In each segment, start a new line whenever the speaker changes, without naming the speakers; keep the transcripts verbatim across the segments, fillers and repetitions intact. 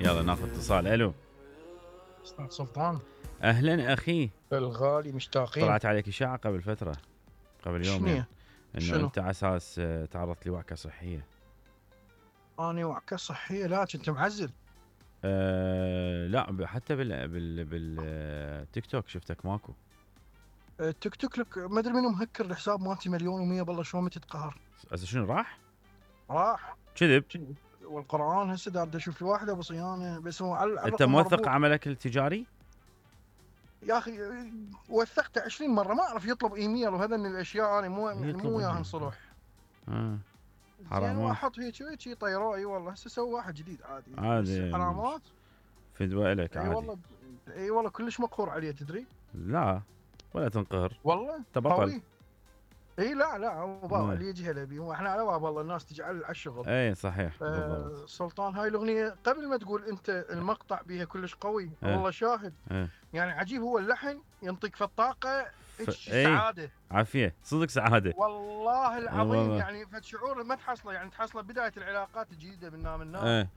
يلا ناخذ اتصال. الو
استاذ سلطان،
اهلا اخي
الغالي مشتاقين.
طلعت عليك اشاعه قبل فتره، قبل يومين، انه
شنو؟
انت على اساس تعرضت لوعكه صحيه.
اني وعكه صحيه؟ لا كنت معزل.
أه لا حتى بال بال بالتيك توك شفتك ماكو.
التيك توك لك ما ادري منو مهكر الحساب مالتي مليون ومية. بالله شلون متى تقهر.
هسه شنو راح؟
راح
كذب.
والقران هسه دا اشوف لي واحده بصيانه، بس هو على
انت موثق عملك التجاري؟
يا اخي وثقته عشرين مره، ما اعرف يطلب ايميل وهذا من الاشياء انا مو يعني مو وياهم صلح.
اه
حرام. واحط هيك شي طيروا. اي والله هسه سوى واحد جديد عادي
عادي
علامات
فدوى لك عادي.
اي والله اي والله كلش مقهور عليه تدري.
لا ولا تنقهر
والله
تبطل.
اي لا لا هو بابا اللي يجي هلا بيه، واحنا على باب الله الناس تجي على الشغل.
اي صحيح
آه سلطان، هاي الاغنيه قبل ما تقول انت المقطع بيها كلش قوي. أه. والله شاهد. أه. يعني عجيب، هو اللحن ينطيك في الطاقه ف... سعاده
عافيه صدق سعاده
والله العظيم. والله. يعني فشعور ما تحصله، يعني تحصله بدايه العلاقات الجديده من نام النام. أه.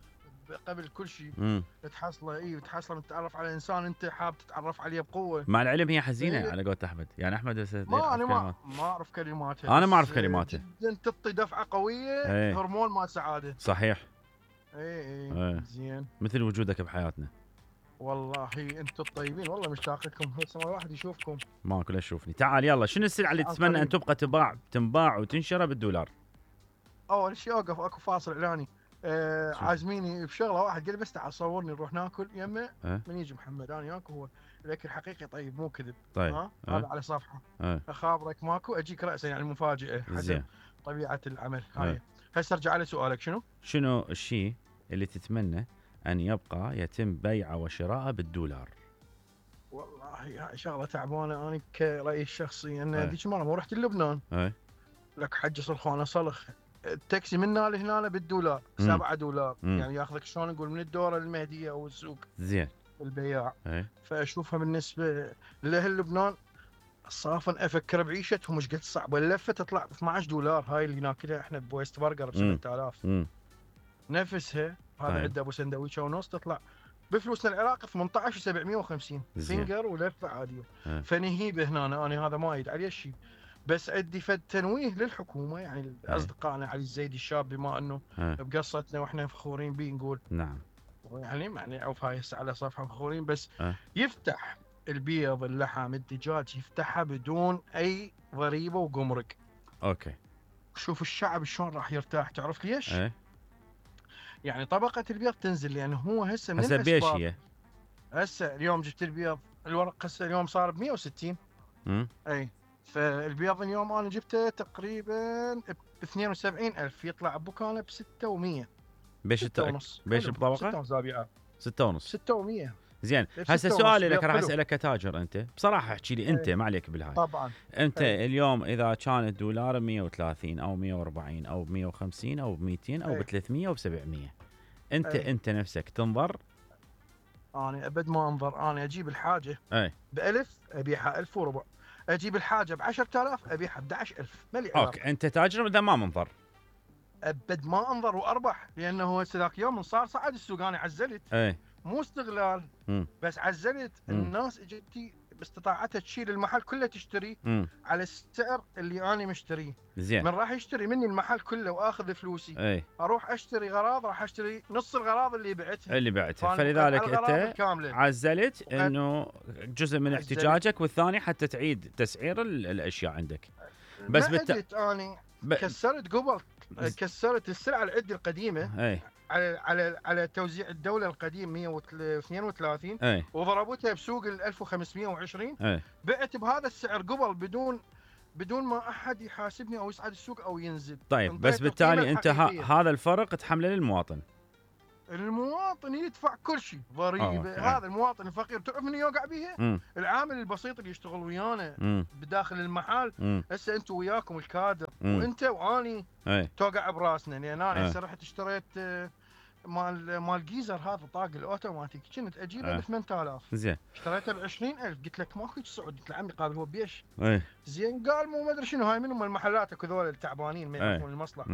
قبل كل شيء تحصله. اي تحصله تتعرف على انسان انت حاب تتعرف عليه بقوه.
مع العلم هي حزينه إيه؟ على قولة احمد. يعني احمد
ما انا ما ما اعرف كلماته.
انا ما اعرف كلماته.
جدا تعطي دفعه قويه. ايه؟ هرمون مال سعاده.
صحيح.
اي اي ايه. زين
مثل وجودك بحياتنا.
والله انتم الطيبين، والله مشتاق لكم. هسه ما واحد يشوفكم.
ماكو لا تشوفني. تعال يلا، شنو السلعه اللي تتمنى ان تبقى تباع تنباع وتنشرى بالدولار؟
اول شيء اوقف اكو فاصل اعلاني. آه عازميني بشغله، واحد قال بس تعال صورني نروح ناكل يمه. أه؟ من يجي محمد انا وياك، هو الاكل حقيقي طيب مو كذب.
طيب
ها أه؟ هذا على صفحه. أه؟ اخابرك ماكو اجيك راسا، يعني مفاجاه حسب طبيعه العمل. هاي أه؟ هسه ارجع على سؤالك. شنو
شنو الشيء اللي تتمنى ان يبقى يتم بيعه وشراءه بالدولار؟
والله شغله تعبانه. انا كرايي الشخصي ان ذيك المره مو رحت لبنان. أه؟ لك حج صلخانه صلخ التاكسي من هنا لهنا بالدولار. سبعة دولار. مم. يعني ياخذك شلون نقول من الدوره للمهديه او السوق.
زين
البياع. ايه؟ فاشوفها بالنسبه لاهل لبنان صافا افكر بعيشتهم مش قد صعبه. اللفه تطلع ب اثنعش دولار، هاي اللي ناكلها احنا بويست برجر ب سبعة آلاف. نفسها هذا عنده ابو سندويشه ونص تطلع بفلوسنا العراق ثمانية عشر وسبعمية وخمسين فينجر ولفه عاديه. ايه؟ فنهيبه هنا انا, أنا هذا ما يد عليه شيء. بس عندي فد تنويه للحكومه، يعني اصدقائنا علي الزيدي الشاب بما انه بقصتنا واحنا فخورين به نقول
نعم.
يعني معني عوف هاي على صفحه فخورين بس أه؟ يفتح البيض اللحم الدجاج يفتحها بدون اي ضريبه وجمرك.
اوكي.
شوف الشعب شلون راح يرتاح. تعرف ليش؟
أه؟
يعني طبقه البيض تنزل، لانه يعني هو هسه من
هسه بيش هي؟
هسه اليوم جبت البيض الورق هسه اليوم صار ب مية وستين.
امم
اي فالبيض اليوم انا جبته تقريبا ب اثنين وسبعين ألف، يطلع بكانه ب ستة ومية.
بيش التأك... بيش الطبقه؟
ستة وزابيعه.
ستة ونص.
ستة ومية.
زين هسه سؤالي لك، راح اسالك كتاجر انت بصراحه، احكي لي انت. ايه. ما عليك بالهاي
طبعا.
انت ايه. اليوم اذا كان الدولار ب مية وثلاثين او مية وأربعين او ب مية وخمسين او ب مئتين او ب ثلاثمية او ب سبعمية، انت ايه. انت نفسك تنظر؟
انا ابد ما انظر. انا اجيب الحاجه
اي
بألف ابيعها ألف وربع، اجيب الحاجه ب عشرة آلاف ابيعها ب احد عشر ألف. مالي علاقه.
اوكي انت تاجر اذا ما منظر؟
ابد ما انظر واربح، لانه هسه ذاك يوم صار صعد السوق انا عزلت.
اي
مو استغلال. م. بس عزلت. م. الناس اجتي باستطاعتها تشيل المحل كله تشتري م. على السعر اللي انا مشتريه.
زين
من راح يشتري مني المحل كله واخذ فلوسي.
اي.
اروح اشتري غراض، راح اشتري نص الغراض اللي بعتها
اللي بعتها فلذلك انت عزلت انه جزء من عزلت. احتجاجك، والثاني حتى تعيد تسعير الاشياء عندك. بس
بالت... اني ب... كسرت قبل كسرت السلعه العده القديمه.
اي.
على على على توزيع الدوله القديم مية واثنين وثلاثين.
أي.
وضربتها بسوق ال ألف وخمسمية وعشرين.
أي.
بعت بهذا السعر قبل بدون بدون ما احد يحاسبني او يصعد السوق او ينزل.
طيب بس بالتالي انت هذا الفرق تحمله للمواطن.
المواطن يدفع كل شيء ضريبه. هذا المواطن الفقير تعرف من يوقع بيها؟ العامل البسيط اللي يشتغل ويانا بداخل المحل. هسه انتم وياكم الكادر مم. وانت واني
أي.
توقع براسنا، لان انا هسه رحت اشتريت مال مال جيزر هذا طاق الاوتوماتيك، كنت اجيبه ب ثمانية آلاف.
زين
اشتريته ب عشرين ألف. قلت لك ماكو سعود. قلت له عمي قال هو بيش.
أي.
زين قال مو ما ادري شنو هاي، من هم المحلات اكو ذول التعبانين ما يعرفون المصلحه.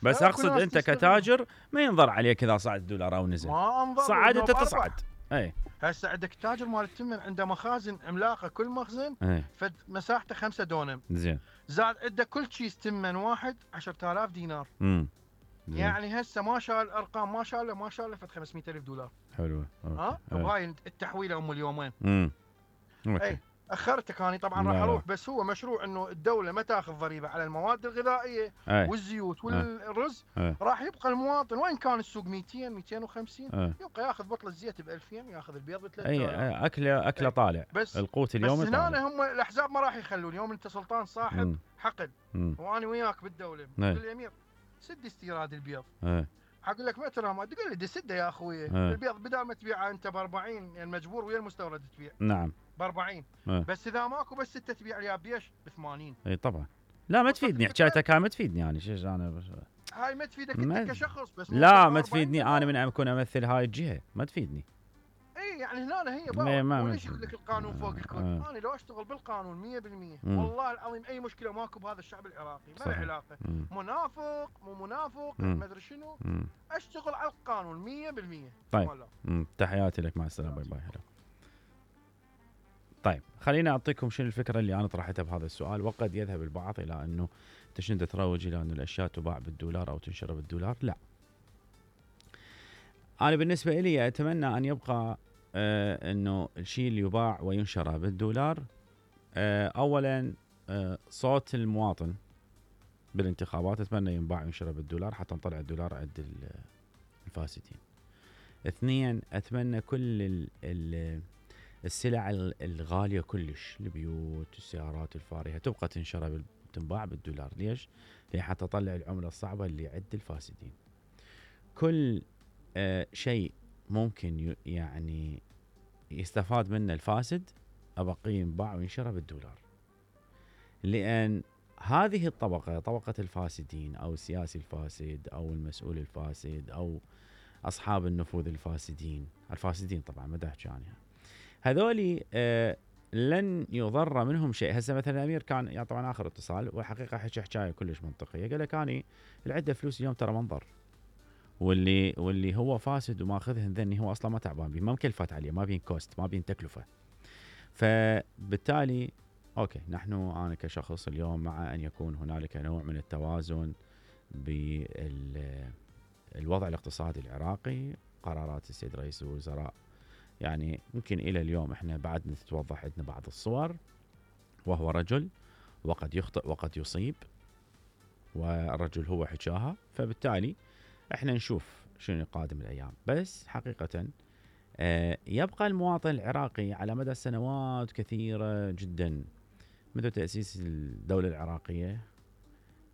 بس اقصد انت كتاجر ما ينظر عليك اذا صعد الدولار او نزل،
ما انظر
صعد انت تصعد. اي
هسه عندك تاجر مال التمن عنده مخازن عملاقه، كل مخزن
اي
فد مساحته خمسة دونم،
زين،
زاد عنده كل كيس تمن واحد عشرة آلاف دينار.
امم
يعني هسه ما شاء الارقام، ما شاء الله ما شاء الله فد خمسمئة ألف دولار.
حلو.
ها وهاي التحويله ام اليومين.
امم
اي اخرتك اني طبعا راح اروح، بس هو مشروع انه الدوله ما تاخذ ضريبه على المواد الغذائيه
أي.
والزيوت والرز.
أي.
راح يبقى المواطن وين كان السوق مئتين مئتين وخمسين يبقى ياخذ بطله زيت ب ألفين، ياخذ البيض ب ثلاثة آلاف.
اي اكله اكله طالع،
بس
القوت اليومي
بس هنا هم الاحزاب ما راح يخلون. يوم انت سلطان صاحب
مم.
حقد
مم.
وانا وياك بالدوله،
أي.
تقول لي امير سد استيراد البيض.
أي.
اقول لك ما ترى ما تقول لي دي سده يا اخوي.
أه.
البيض بدال ما تبيعه انت ب أربعين، يعني مجبور ويا المستورد تبيع.
نعم
ب أربعين.
أه.
بس اذا ماكو بس سته تبيع لي بيش ب ثمانين.
اي طبعا. لا ما تفيدني حكايتك، هاي ما تفيدني يعني شيش انا بس.
هاي ما تفيدك انت كشخص بس.
لا ما تفيدني انا من اكون امثل هاي الجهه، ما تفيدني.
اي يعني هنا هي
بقى
وليش يقول لك القانون فوق الكل؟
آه.
انا لو اشتغل بالقانون مية بالمية والله العظيم اي مشكله ماكو بهذا الشعب العراقي، ما له علاقه. مم. منافق مو منافق ما ادري شنو. مم. اشتغل على القانون مية بالمية.
طيب تحياتي لك، مع السلامه، باي باي. هلا. طيب خليني اعطيكم شنو الفكره اللي انا طرحتها بهذا السؤال. وقد يذهب البعض الى انه انت شنو تروج الى انه الاشياء تباع بالدولار او تنشر بالدولار. لا، انا بالنسبه لي اتمنى ان يبقى آه انه الشيء اللي يباع وينشر بالدولار آه اولا آه صوت المواطن بالانتخابات، اتمنى ينباع وينشر بالدولار حتى نطلع الدولار عند الفاسدين. اثنين، اتمنى كل ال ال السلع الغاليه كلش، البيوت السيارات الفارهه تبقى تنشر تنباع بالدولار. ليش؟ ليه حتى تطلع العمله الصعبه اللي عند الفاسدين. كل آه شيء ممكن يعني يستفاد منه الفاسد أبقي ينباع وينشر بالدولار، لأن هذه الطبقة، طبقة الفاسدين أو السياسي الفاسد أو المسؤول الفاسد أو أصحاب النفوذ الفاسدين، الفاسدين طبعا ما احكي عنها، هذولي آه لن يضر منهم شيء. هسه مثلا الأمير كان يعني طبعا آخر اتصال والحقيقة حكى حكاية كلش منطقية، قال لك أنا العدة فلوس اليوم ترى منظر، واللي واللي هو فاسد وماخذهن ذني هو اصلا ما تعبان بيه، ما مكلفات عليه، ما بين كوست، ما بين تكلفه. فبالتالي اوكي نحن انا كشخص اليوم مع ان يكون هنالك نوع من التوازن بالوضع الاقتصادي العراقي. قرارات السيد رئيس الوزراء يعني يمكن الى اليوم احنا بعد تتوضح عندنا بعض الصور، وهو رجل وقد يخطئ وقد يصيب، والرجل هو حكاها، فبالتالي احنا نشوف شنو قادم الايام. بس حقيقة آه يبقى المواطن العراقي على مدى سنوات كثيرة جدا منذ تأسيس الدولة العراقية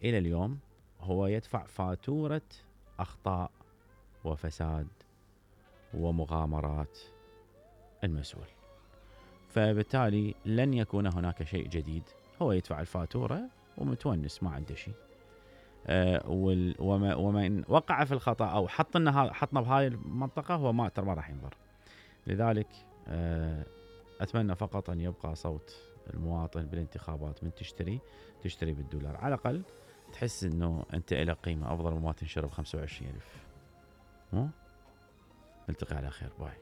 الى اليوم هو يدفع فاتورة اخطاء وفساد ومغامرات المسؤول. فبالتالي لن يكون هناك شيء جديد، هو يدفع الفاتورة ومتونس ما عنده شيء. آه وما ومن وقع في الخطأ او حطنا حطنا بهاي المنطقة هو ما ترى ما راح ينظر. لذلك آه اتمنى فقط ان يبقى صوت المواطن بالانتخابات، من تشتري تشتري بالدولار على الاقل تحس انه انت له قيمة افضل مما تنشر ب خمسة وعشرين ألف. نلتقي على خير، باي.